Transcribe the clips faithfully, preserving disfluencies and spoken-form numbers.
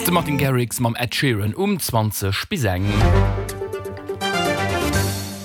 De Martin Garrix mam Ed Sheeran um zwanzeg bis eng.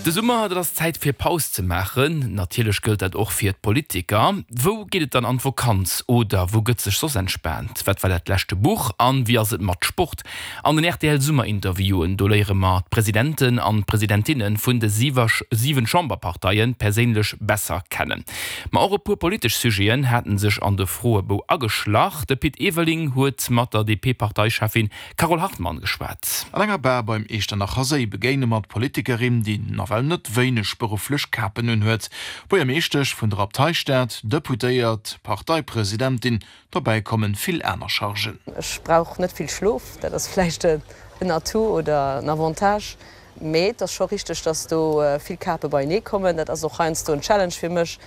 De Summer, dat ass Zäit fir Paus ze maachen. Natierlech gëllt dat och fir d'Politiker. Wou geet et dann an d'Vakanz oder wou gëtt sech soss entspaant? Wat war dat leschte Buch an wéi ass et mat Sport? An den R T L Summerinterviewen, do léiere mer d'Presidenten an d'Presidentinne vun de siwen Chamberparteie perséinlech besser kennen. Ma och e puer politesch Sujeten haten sech an de Froebou ageschlach. De Pit Everling huet mat der D P-Parteicheffin Carole Hartmann geschwat. An enger Bar beim Echternacher Séi begéine mer d'Politikerin, déi nawell net wéineg berufflech Kapen unhuet. Buergermeeschtesch vun der Abteistad, Deputéiert, Parteipresidentin, dobäi kommen vill aner Chargen. Ech brauch net vill Schlof, dat ass vläicht en Atout oder en Avantage. Mee et ass scho richteg, dass do vill Kape beienee kommen. Dat ass och heiansdo en Challenge fir mech.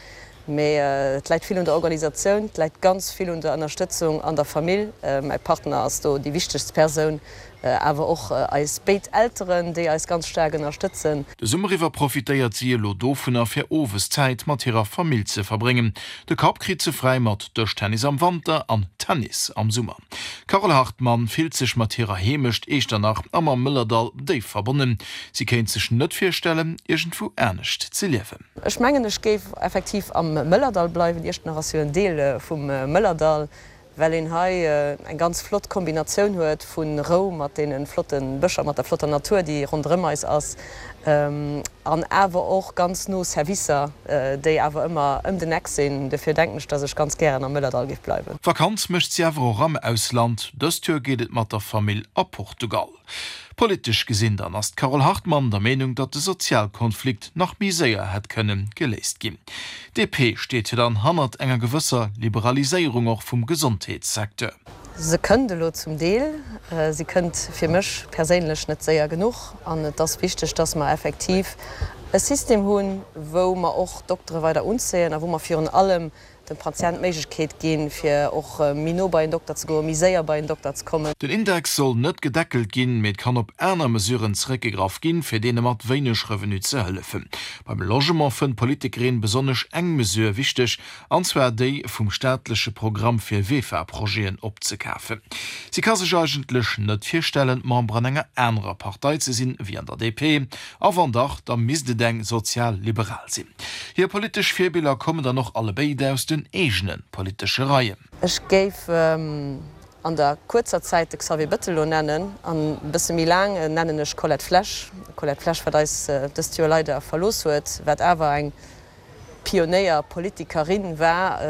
Mee et läit vill un der Organisatioun, et läit ganz vill un der Ënnerstëtzung an der Famill. Mäi Partner ass do déi wichtegst Persoun, awer och eis béid Elteren, déi eis ganz staark ënnerstëtzen. De Summer iwwer profitéiert si elo dovunner, fir owes Zäit mat hirer Famill ze verbréngen. De Kapp kritt se fräi mat Dëschtennis am Wanter an Tennis am Summer. D'Carole Hartmann fillt sech mat hirer Heemecht Echternach a mam Mëllerdall déif verbonnen. Si kéint sech net virstellen, iergendwou anescht ze liewen. Ech mengen, ech géif effektiv am Mëllerdall bleiwen. Iechternach ass jo en Deel vum Mëllerdall, well een hei eng ganz flott Kombinatioun huet vu Rou mat deene flotte Bëscher, mat der flotter Natur, déi ronderëm eis ass, an awer och ganz no Servicer, déi awer ëmmer ëm den Eck sinn. Dofir denken ech, dass ech ganz gären am Mëllerdall géif bleiwen. Vakanz mécht si awer och am Ausland. Dëst Joer geet et mat der Famill a Portugal. Politesch gesinn dann ass d'Carole Hartmann der Meenung, datt de Sozialkonflikt nach méi séier hätt kënne geléist ginn. D P steet jo dann hannert enger gewësser Liberaliséierung och vum Gesondheetssecteur. Se kënnt elo zum Deel. Si kënnt fir mech perséinlech net séier genuch an et ass wichteg, datt mer effektiv e System hunn, wou mer och Doktere weider unzéien a wou mer virun allem dem Patient d'Méiglechkeet ginn, fir och méi no bei en Dokter ze goen, méi séier bei en Dokter ze kommen. Den Index soll net gedeckelt ginn, mee et kann op aner Mesuren zeréckgegraff ginn, fir deene mat wéineg Revenu ze hëllefen. Beim Logement fënnt d'Politikerin besonnesch eng Mesure wichteg, an zwar déi vum staatleche Programm fir V E F A-Projeten opzekafen. Si ka sech eigentlech net virstellen, Member an enger anerer Partei ze sinn, wéi an der D P, a wann dach, da misst et eng sozialliberal sinn. Hir politesch Virbiller kommen dann och allebéid aus den eegene politesche Reien. Ech géif an der kuerzer Zäit de Xavier Bettel elo nennen, an e bësse méi laang nennen ech Colette Flesch. Colette Flesch, wat eis dëst Joer leider verlooss huet, wat awer eng Pionéierpolitikerin war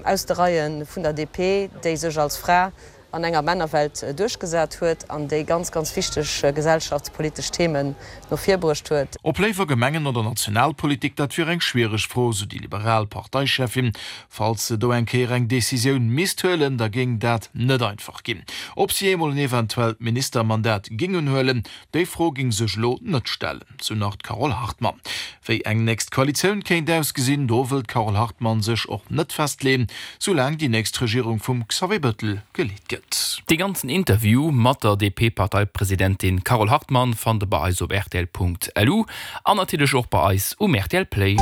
aus de Reie vun der D P, déi sech als Fra an enger Männerwelt duerchgesat huet an déi ganz, ganz wichteg gesellschaftspolitesch Themen no vir bruecht huet. Ob léiwer Gemengen oder Nationalpolitik, dat wier eng schwiereg Fro, sou déi liberal Parteicheffin. Falls se do eng Kéier eng Decisioun misst huelen, da géing dat net einfach ginn. Ob si eemol en eventuellt Ministermandat géing unhuelen, déi Fro géing sech elo net stellen, sou nach d'Carole Hartmann. Wéi eng nächst Koalitioun kéint ausgesinn, do wëllt d'Carole Hartmann sech och net festleeën, soulaang déi nächst Regierung vum Xavier Bettel geleet gëtt. Dee ganzen Interview mat der D P-Parteipresidentin Carole Hartmann fannt der bei eis op R T L Punkt L U an natierlech och bei eis um R T L Play.